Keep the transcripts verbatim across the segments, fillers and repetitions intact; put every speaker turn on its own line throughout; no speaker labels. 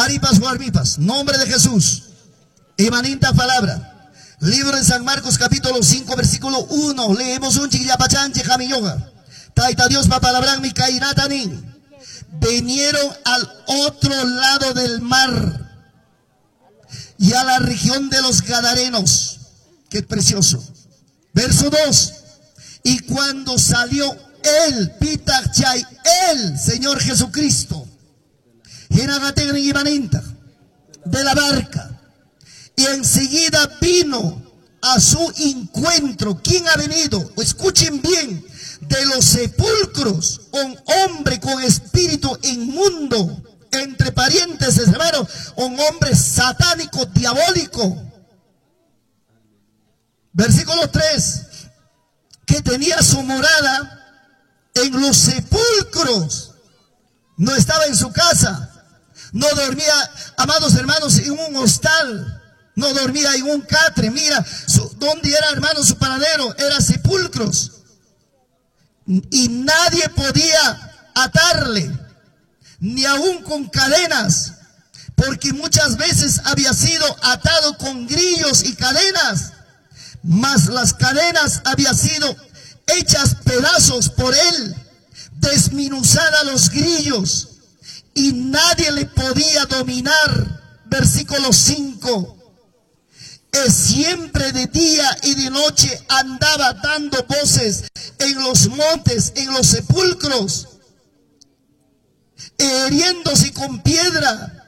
Qaripas warmipas, nombre de Jesús. Imaninta palabra. Libro de San Marcos capítulo cinco versículo uno. Leemos un chiquillapachanche jamiñoga. Taita Dios pa palabra mi kainatanin. Vinieron al otro lado del mar y a la región de los Gadarenos. Qué precioso. Verso dos. Y cuando salió él, pitachay, el Señor Jesucristo, de la barca, y enseguida vino a su encuentro. ¿Quién ha venido? Escuchen bien. De los sepulcros, un hombre con espíritu inmundo, entre parientes, hermano, un hombre satánico, diabólico. Versículo tres, que tenía su morada en los sepulcros. No estaba en su casa, no dormía, amados hermanos, en un hostal, no dormía en un catre. Mira, su, ¿dónde era, hermano, su paradero? Era sepulcros. Y nadie podía atarle, ni aún con cadenas, porque muchas veces había sido atado con grillos y cadenas, mas las cadenas habían sido hechas pedazos por él, desmenuzadas los grillos, y nadie le podía dominar. Versículo cinco. Es siempre de día y de noche andaba dando voces en los montes, en los sepulcros, hiriéndose con piedra.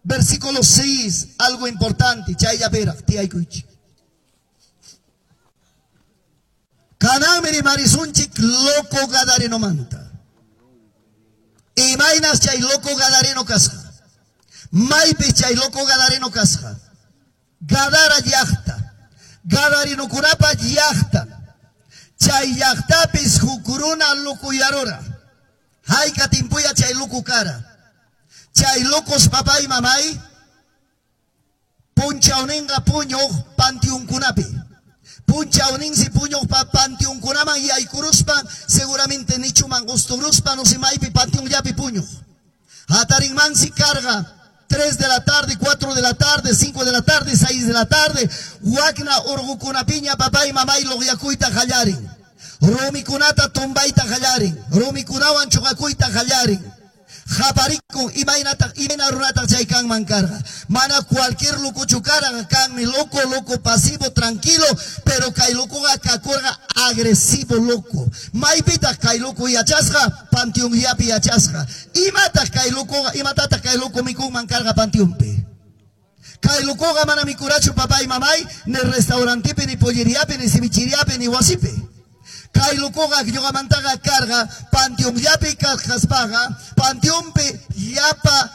Versículo seis, algo importante. Kanamiri marisunchik loco gadareno manta. Imainas chay loco gadareno kasja. Maipe chay loco gadareno kasja. Gadara llaqta, Gadarinokunapa llaqta, chay llaqtapis hukuruna lukuyarura, hayka timpuya chay lukukara, chay locos papá y mamay, punchawninqa puñuq panteonkunapi, punchawninsi puñuq pa panteonkunaman yaykuruspa, seguramente nichuman gusturuspa, no se maypi panteonllapi puñuq, hatarinmansi carga. tres de la tarde, cuatro de la tarde, cinco de la tarde, seis de la tarde. Wakna urgukunapiña papá y mamá y logyakuyta hallarin. Rumikunata tumbayta hallarin. Rumikunawan chuqakuyta hallarin. Japarikun imaynata imayna runata chay kanman karqa. Mana cualquier loco karqa kanmi loco, loco pasivo, tranquilo, pero kay locoqa kakurqa agresivo loco. Maypitaq kay loco yachasqa, panteonllapi yachasqa. Imataq kay locoqa, imatataq kay loco mikunman karqa panteonpi. Kay locoqa mana mikurachu papá y mamay, ni restaurantepi, ni polleriapi, ni cevicheriapi, ni wasipi. Kay locoqa ñuqamantaqa karqa panteonllapi kaspaqa, panteonpi llapa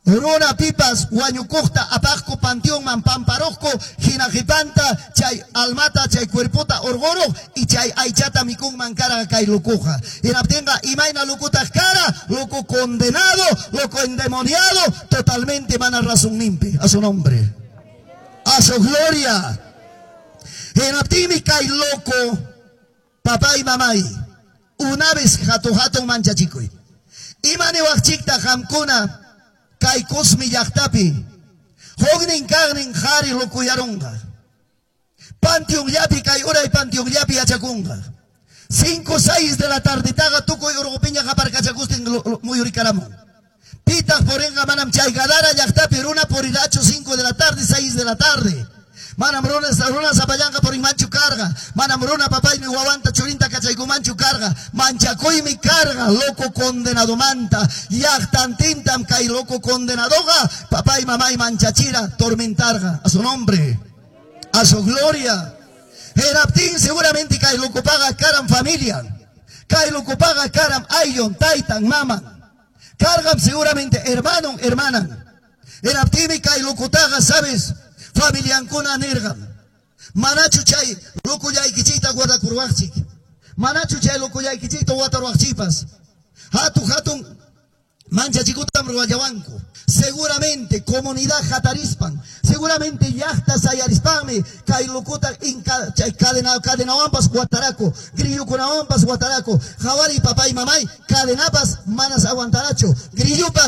runa pipas wañukuqta apaqku panteonman pamparuqku, hinaqipanta chay almata chay cuerpota urquruq y chay aychata mikunman karqa kay locoqa. Hinaptinqa imayna locutaq kara, loco condenado, loco endemoniado, totalmente mana razonninpi. A su nombre, a su gloria. Hinaptinmi kay loco papá y mamá, una vez jato jato manchachikuy. Imani waqchikta qamkuna kay kusmi llaqtapi, huknin kaqnin qhari lokuyarunqa. Panteonllapi kay uray panteonllapi yachakunqa. Cinco, seis de la tardetaqa tukuy urqupiña qaparkachakustin muyurikaramun. Pitaq purinqa manam chay Gadara llaqtapi runa purirachu cinco de la tarde, seis de la tarde. Manam runa, runa zapallanqa purinmanchu karqa. Manam runa papaymi wawanta churinta kachaykumanchu karqa. Manchakuymi karqa, loco condenado manta. Llaqtantintam kay loco condenadoqa, papay mamay manchachira, tormentarqa. A su nombre, a su gloria. Heraptin seguramente kay loco paga karam familia. Kay loco paga karam ayon, taitan, maman. Cargam seguramente hermano, hermana. Heraptimi kay locotaga, sabes, familiankuna nirqam. Manachu chay locollaykichikta guardakurwaqchik. Manachu chay locollaykichikta watarwaqchipas. Hatu hatun manchachikutam ruwallawanku. Seguramente comunidad hatarispan, seguramente llaqta sayarispanmi kay locuta inka chay cadena cadenawanpas wataraku, grillukunawanpas wataraku, hawari papay mamay cadenapas manas aguantarachu, grillupas